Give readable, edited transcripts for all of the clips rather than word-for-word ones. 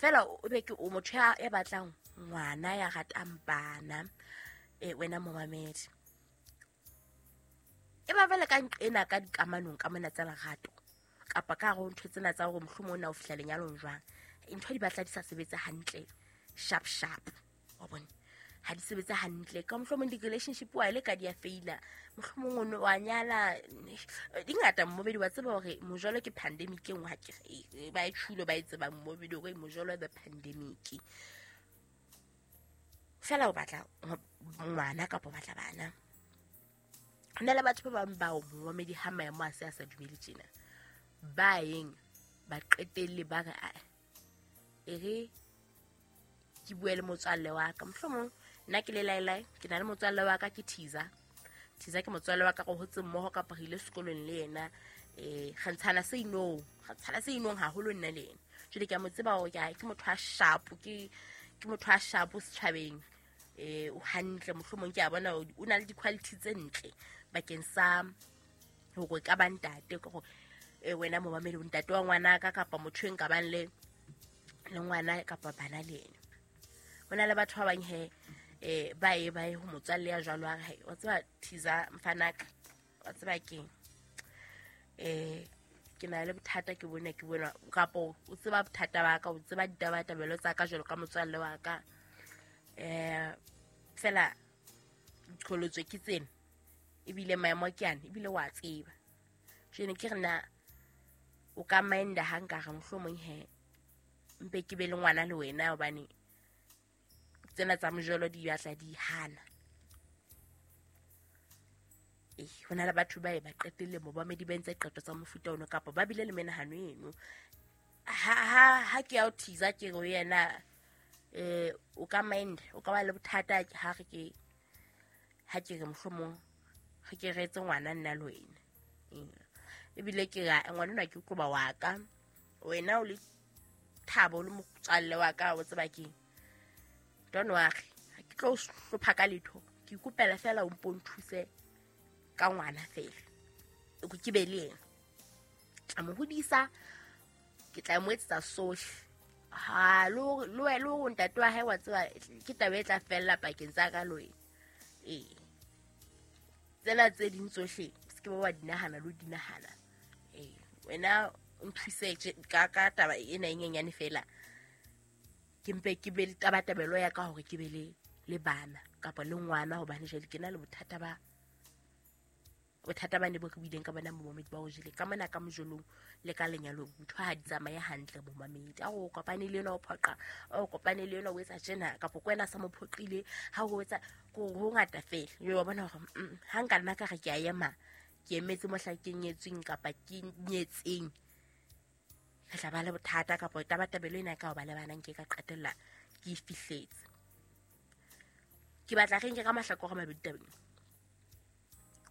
Fela o be ke o motho ya batlang ngwana, ya ratang bana, wena momamedi. E ba bele ka nqena ka dikamanong ka mona tsa lerato kapa ka hare ho ntho tsena tsa hore mohlomong o na o fihla lenyalong jwang, ntho di batla di sa sebetse hantle sharp sharp, wa bona, ha di sebetse hantle. Ka mohlomong di-relationship wa le ka di a feila, mohlomong o wa nyala di ngata mmobedi, wa tseba hore mojolo ke pandemic e nngwe, ha ke ba e tjhulo ba e tsebang mmobedi hore mojolo the pandemic. Fela o batla ngwana kapa o batla bana. Ho na le batho ba bang bao momamedi ha maemo a se a sa dumele tjena, ba yeng ba qetelle ba re e re ke bue le motswalle wa ka, mohlomong nna ke le laelae, ke na le motswalle wa ka ke Thiza. Thiza ke motswalle wa ka, re hotse mmoho kapa re ile sekolong le yena, re ntshana se inong, re ntshana se inong haholo nna le yena. Jwale ke a mo tseba hore ke motho a sharp, ke motho a sharp setjhabeng, o hantle, mohlomong ke a bona o na le di-quality tse ntle bakeng sa hore ka ba ntate, ke hore wena momamedi o ntate wa ngwana ka kapa motho e nka bang le ngwana kapa bana le yena. Ho na le batho ba bang he ba ye ho motswalle ya jwalo, a re wa tseba Thiza mfanaka, wa tseba keng, ke na le bothata, ke bona kapa o tseba bothata ba ka, o tseba ditabatabelo tsa ka jwalo ka motswalle wa ka, fela qholotswe ke tsena, ebile maemo ke ane, ebile wa tseba. Jwale ke re na o ka minda ha nka re mohlomong he mpe ke be le ngwana le wena, hobane tsena tsa mojolo di batla di hana. Ho na le batho ba e ba qetelle momamedi ba entse qeto tsa mofuta ono kapa ba bile le menahano eno. Ha ke ya o Thiza ke re yena o ka mind, o ka ba le bothata ha re ke ha ke re mohlomong re ke re etse ngwana nna le wena. Ebile ke re ngwana ona ke tloba wa ka, wena o le Thabo le motswalle wa ka, o tseba keng, don't worry, ha ke tlo hlopha ka letho, ke ikopela fela o mpo nthuse ka ngwana fela, ke be le yena, tla mo hodisa, ke tla mo etsetsa sohle. Ha lo lo ntate wa hae wa tseba ke taba e tla fella pakeng tsa ka le wena. Tsena tse ding tsohle se ke ba wa di nahana lo di nahana. Wena o nthuse ka taba ena e nyenyane fela, ke mpe ke be le tabatabelo ya ka hore ke be le bana kapa le ngwana, hobane jwale ke na le bothata ba ne bo re buileng ka bona momamedi ba o jele ka mona ka mojolong le ka lenyalong, ntho ha di tsamaye hantle momamedi. A o kopane le yena o phoqa, o kopane le yena o etsa tjena, kapa ke wena sa mo phoqile, ha o etsa ho ngata fela. Yo wa bona hore ha nka nna ka re ke a ema, ke emetse mohla ke nyetsweng kapa ke nyetseng, re tla ba le bothata kapa tabatabelo ena ka ho ba le bana nke ka qetella ke e fihletse. Ke batla re nke ka mahlakore a mabedi tabeng.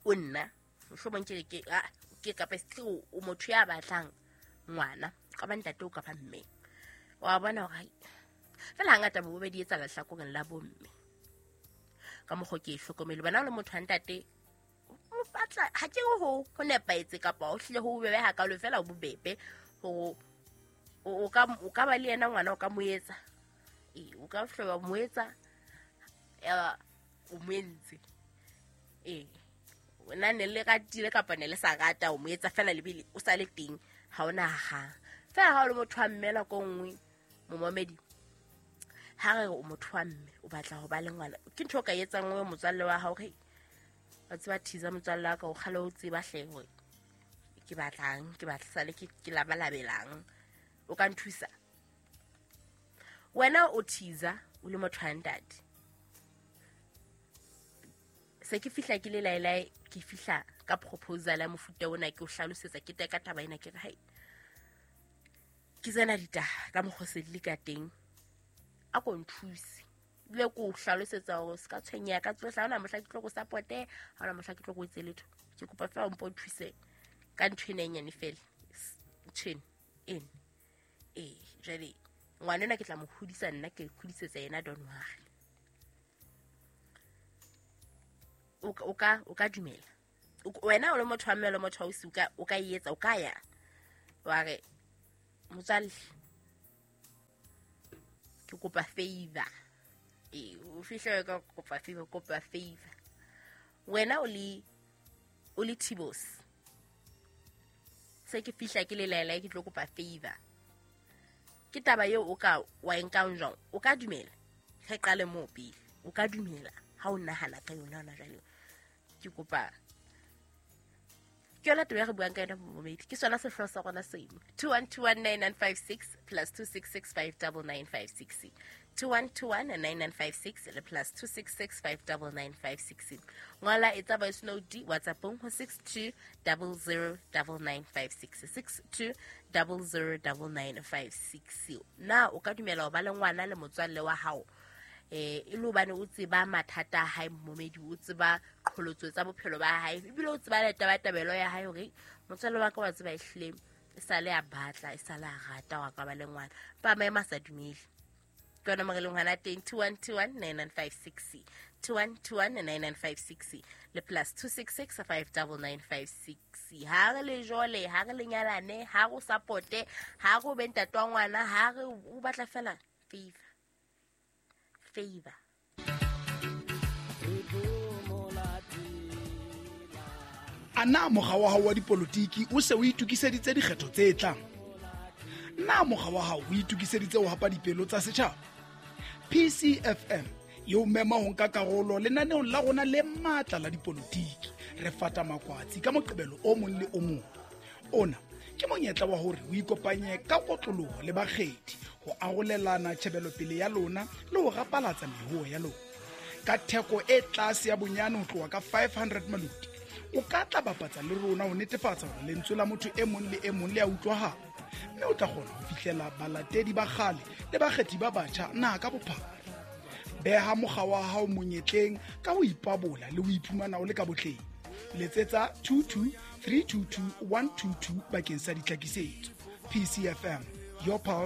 O nna mohlomong ke ke kapa se o motho ya batlang ngwana, ka ba ntate o kapa mme, wa bona hore fela hangata bo bobedi etsa lehlakoreng la bomme ka mokgwa ke e hlokomele. Bana le motho wa ntate o batla, ha ke ho nepahetse kapa o hlile ho bobebe hakalo, fela o bobebe hore o ka ba le yena ngwana, o ka mo etsa, o ka hloba mo etsa, ya o mo entse, wena ne le ratile kapa ne le sa rata, o mo etsa fela lebele o sa le teng, ha ona ha fela. Ha o le motho wa mme nako nngwe momamedi, ha re o motho wa mme o batla ho ba le ngwana, ke ntho o ka etsang o motswalle wa hao, re wa tseba Thiza motswalle wa ka, o kgale o tseba hle hore ke batlang, ke batla sale ke labalabelang, o ka nthusa. Wena o Thiza o le motho wa ntate, se ke fihla ke le laelae, ke fihla ka proposal ya mofuta ona, ke o hlalosetsa, ke teka taba ena, ke re hai ke tsena ditaba ka mokgwa se di le ka teng, a ko nthuse, ebile ke o hlalosetsa hore se ka tshwenyeha ka tsohle, ha hona mohla ke tlo go supporte, ha hona mohla ke tlo go etse letho, ke kopa fela o mpo nthuse ka ntho ena e nyane fela, ntho ena jwale ngwana ena ke tla mo hodisa nna, ke hodisetsa yena, don't worry. O ka dumela wena o le motho wa mme le motho wa ausi, o ka etsa, o ka ya wa re motswalle Ke kopa favor. Ee, o fihle ka kopa favor, kopa favor. Wena o le Tibos. Se ke fihla ke le laela ke tlo kopa favor. Ke taba eo o ka wa e nkang jwang? O ka dumela? Re qale moo pele. O ka dumela ha o nahana ka yona hona jwale. Ke kopa ke yona taba e re buang ka yona momedi. Ke sona sehlooho sa rona seno. 21219956 plus 26659956. 21219956 le plus 26659956. Ngola etsa voice note WhatsAppong ho 62009956. 62009956. Na o ka dumela ho ba le ngwana le motswalle wa hao? E le hobane o tseba mathata a hae momedi, o tseba qholotso tsa bophelo ba hae, ebile o tseba le tabatabelo ya hae hore motswalle wa ka wa tseba ehlile e sale a batla, e sale a rata wa ka ba le ngwana. Pa maemo a sa dumele. Ke yona mo re leng hona teng 21219956. 21219956 le plus 26659956. Ha re le jole, ha re le nyalane, ha re o supporte, ha re o be ntate wa ngwana, ha re o batla fela favor. Favor. A na mokga wa hao wa dipolotiki o se o itokiseditse dikgetho tse tlang? Na mokga wa hao o itokiseditse ho hapa dipelo tsa setjhaba? PCFM e o mema ho nka karolo lenaneong la rona le matla la dipolotiki. Re fata makwatsi ka Moqebelo o mong le o mong. Ona ke monyetla wa hore o ikopanye ka kotloloho le bakgethi ho arolelana tjhebelopele ya lona le ho rapalatsa mehoho ya lona. Ka theko e tlase ya bonyane ho tloha ka 500 maloti, o ka tla bapatsa le rona ho netefatsa hore lentswe la motho e mong le e mong le a utlwahala, mme o tla kgona ho fihlela balatedi ba kgale le bakgethi ba batjha naha ka bophara. Beha mokga wa hao monyetleng ka ho ipabola le ho iphumana o le ka botleng. Letsetsa 22 322 122 bakeng sa ditlhakisetso. PCFM, your pulse.